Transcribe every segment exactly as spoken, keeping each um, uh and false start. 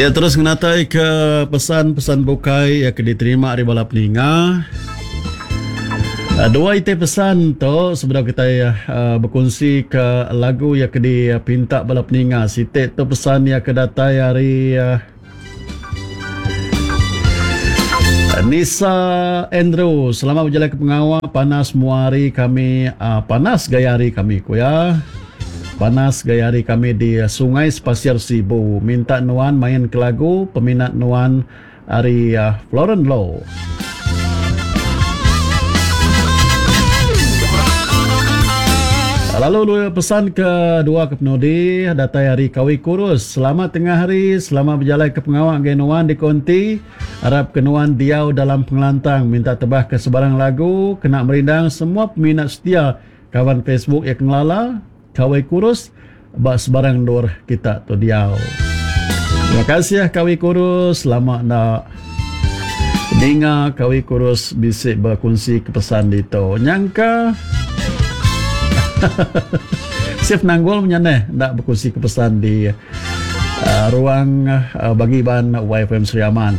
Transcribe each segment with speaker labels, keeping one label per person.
Speaker 1: Ya terus ngenatai ke pesan-pesan bukai yang ke diterima ari bala peninga. Dua iti pesan tu sebedau kita uh, berkongsi ke lagu yang ke dipinta bala peninga. Siti tu pesan yang ke datai ari uh, Nisa Andrew. Selamat berjalan ke pengawa. Panas semua hari kami, uh, panas gaya hari kami ku ya. Panas gaya hari kami di Sungai Sepasir Sibu. Minta nuan main ke lagu peminat nuan ari uh, Florence Low. Lalu pesan kedua ke penudi datai hari Kawi Kurus. Selamat tengah hari, selamat berjalan ke pengawak ngai nuan di konti. Harap ke nuan diau dalam pengelantang. Minta tebah ke sebarang lagu, kena merindang semua peminat setia kawan Facebook yang kenalala Kawi Kurus bak sebarang dor kita tu diau. Terima kasih Kawi Kurus, selamat nak dengar Kawi Kurus bisik berkongsi kepesan dito. Nyangka Sif nanggul menyaneh nak berkongsi kepesan di uh, ruang uh, bagi ban Y F M Sri Aman.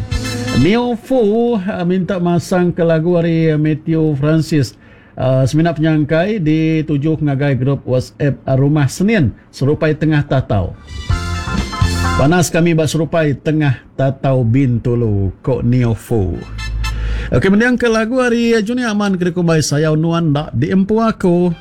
Speaker 1: Neo Fu uh, minta masang ke lagu hari Matthew Francis. Uh, seminat penyangkai dituju ngagai grup WhatsApp uh, Rumah Senin Serupai Tengah Tatau. Panas kami bak Serupai Tengah Tatau Bintulu kok Neo Fu. Okey, mendiang ke lagu hari Junior Aman kena kumbai sayau nuan dak diempu aku.